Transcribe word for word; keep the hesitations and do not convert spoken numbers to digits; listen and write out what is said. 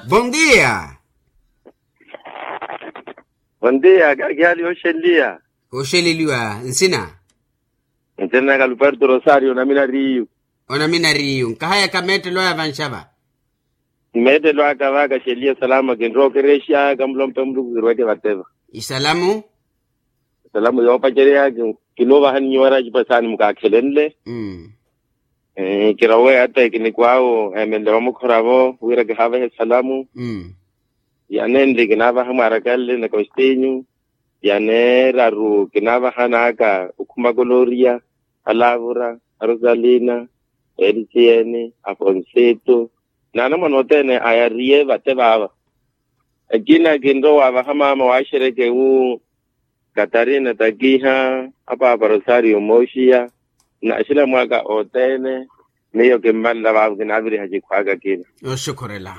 Bondia. Bondia kakiali oxeliya. Oxeleliwa nsina. Nsina naka luparto rosario onamina riyu. Onamina riyu nkahayaka mettelo aya vanxava. Mettelo aka vaka xeliya salama kinrokerexa kamulompe muluku kirweke vateva. Isalamu. Esalamu yoopacerya kinuuvaha ninyu wara ecipasaani mukaakhelenle. Kirowe ata ekiniko awo eemenle vamukhora-vo wira kihaavahe esalamu. Yanenli kinaavaha mwaarakanle na kostinyu. Yaneeraru kinaavaha naaka okhuma koloria, alavura, arosalina, elisiene, afonsito, n'anamwane othene ayariye vate vaava. Ekina kinrowa waavaha maama waaxereke wu katarina takiha apaapa rosario mooxiya. N'axilamu aka othene miyo kimmanla vaavo kinaaviriha cikhwaka kina. Oxukhurela.